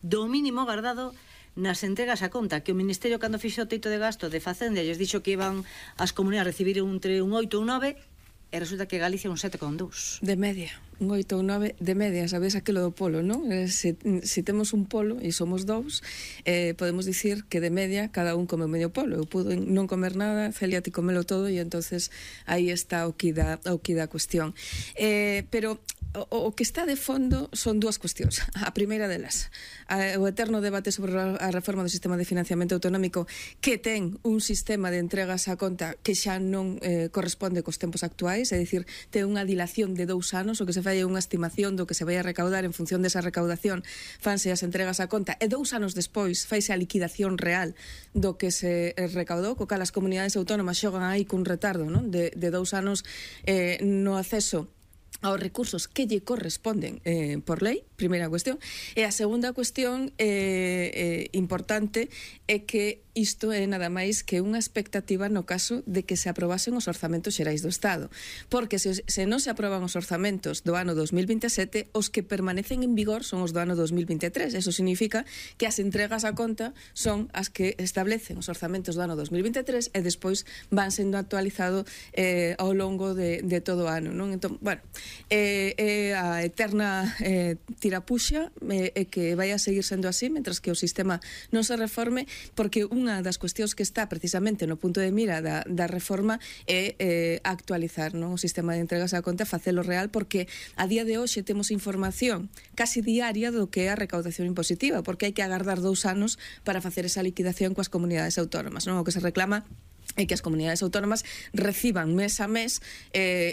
do mínimo guardado nas entregas a conta, que o Ministerio, cando fixo o teito de gasto de Facenda, lles dixo que iban as comunidades a recibir entre un 8 e un 9, e resulta que Galicia un 7,2. De media, un 8 ou 9 de media, sabes aquilo do polo, non? Se temos un polo e somos dous, podemos dicir que de media cada un come medio polo. Eu pudo non comer nada, Celia ti comelo todo, e entonces aí está o que dá a cuestión. Pero o que está de fondo son dúas cuestións. A primeira delas, o eterno debate sobre a reforma do sistema de financiamento autonómico, que ten un sistema de entregas a conta que xa non corresponde cos tempos actuais, é dicir, ten unha dilación de 2 anos, o que se fai é unha estimación do que se vai a recaudar en función desa recaudación, fanse as entregas a conta, e 2 anos despois faise a liquidación real do que se recaudou, co cal as comunidades autónomas xogan aí cun retardo, non? De 2 anos no acceso aos recursos que lle corresponden por lei, primeira cuestión. E a segunda cuestión importante é que isto é nada máis que unha expectativa no caso de que se aprobasen os orzamentos xerais do Estado, porque se non se aproban os orzamentos do ano 2027, os que permanecen en vigor son os do ano 2023. Eso significa que as entregas a conta son as que establecen os orzamentos do ano 2023 e despois van sendo actualizados ao longo de todo o ano, non? Entón, bueno, a eterna tirapuxa é que vai a seguir sendo así mentras que o sistema non se reforme, porque unha das cuestións que está precisamente no punto de mira da reforma é actualizar, non, o sistema de entregas a conta, facelo real, porque a día de hoxe temos información casi diaria do que é a recaudación impositiva, porque hai que agardar 2 anos para facer esa liquidación coas comunidades autónomas, non? O que se reclama e que as comunidades autónomas reciban mes a mes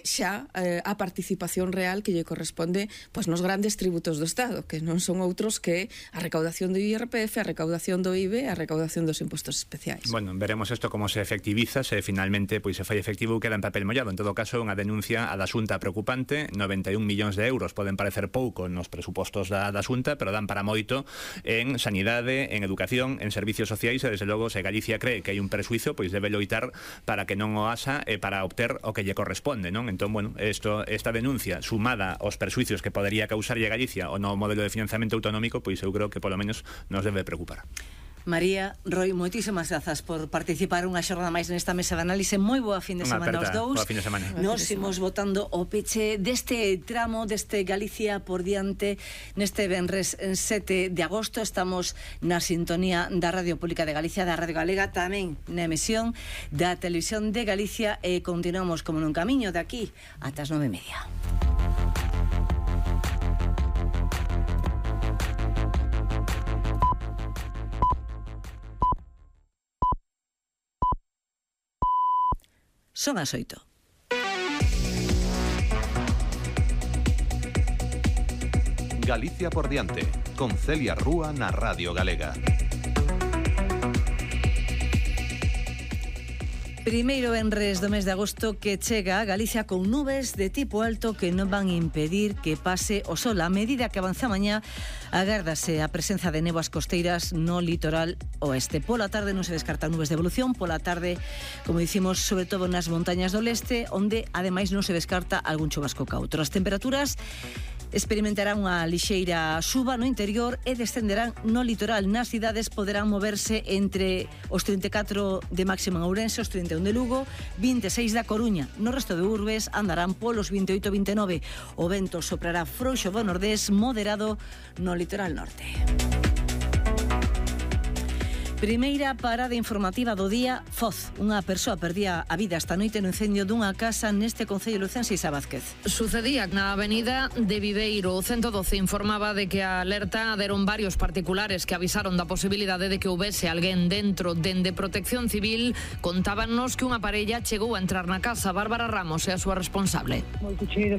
xa a participación real que lle corresponde pois nos grandes tributos do Estado, que non son outros que a recaudación do IRPF, a recaudación do IVE, a recaudación dos impostos especiais. Bueno, veremos isto como se efectiviza, se finalmente pois se fai efectivo, queda en papel mollado. En todo caso, unha denuncia a da Xunta preocupante. 91 millóns de euros poden parecer pouco nos presupostos da Xunta, pero dan para moito en sanidade, en educación, en servicios sociais, e desde logo, se Galicia cree que hai un presuizo, pois debe loitar para que non o haxa e para obter o que lle corresponde, non? Entón, bueno, esta denuncia sumada aos persuicios que podería causarlle a Galicia o no modelo de financiamento autonómico, pois eu creo que polo menos nos debe preocupar. María, Roy, moitísimas grazas por participar unha xornada máis nesta mesa de análise. Moi boa fin de semana aos dous. Boa fin de semana. Nos imos botando o peche deste tramo, deste Galicia por diante, neste venres 7 de agosto. Estamos na sintonía da Radio Pública de Galicia, da Radio Galega, tamén na emisión da Televisión de Galicia, e continuamos como nun camiño de aquí ata as 9:30. Son as 8. Galicia por diante, con Celia Rúa na Radio Galega. Primeiro venres do mes de agosto que chega a Galicia con nubes de tipo alto que non van impedir que pase o sol. A medida que avanza mañá, agárdase a presenza de néboas costeiras no litoral oeste. Pola tarde non se descartan nubes de evolución, pola tarde, como dicimos, sobre todo nas montañas do leste, onde ademais non se descarta algún chubasco cautro. As temperaturas experimentarán unha lixeira suba no interior e descenderán no litoral. Nas cidades poderán moverse entre os 34 de máxima en Ourense, os 31 de Lugo, 26 da Coruña. No resto de urbes andarán polos 28-29. O vento soprará frouxo do nordés, moderado no litoral norte. Primeira parada informativa do día. Foz, unha persoa perdía a vida esta noite no incendio dunha casa neste concello lucense. Isa Vázquez. Sucedía na avenida de Viveiro. O 112 informaba de que a alerta deron varios particulares que avisaron da posibilidade de que houbese alguén dentro. Dende Protección Civil contábanos que unha parella chegou a entrar na casa. Bárbara Ramos é a súa responsable. Moito cheira.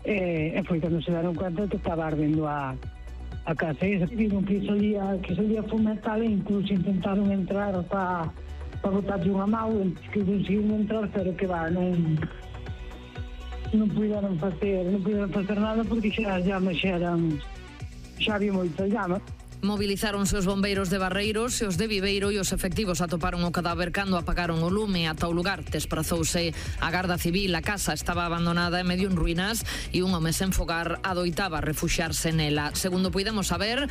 E foi cando se deron conta que estaba ardendo a casa. E viron que solía fomentar, e incluso intentaron entrar para botarlle unha mau, que conseguiron entrar, pero que non puderon facer nada, porque xa as llamas xa había moita llama. Movilizáronse os bombeiros de Barreiros e os de Viveiro e os efectivos atoparon o cadáver cando apagaron o lume. Ata o lugar desprazouse a Garda Civil. A casa estaba abandonada e medio en ruínas e un home sen fogar adoitaba refuxiarse nela. Segundo puidemos saber,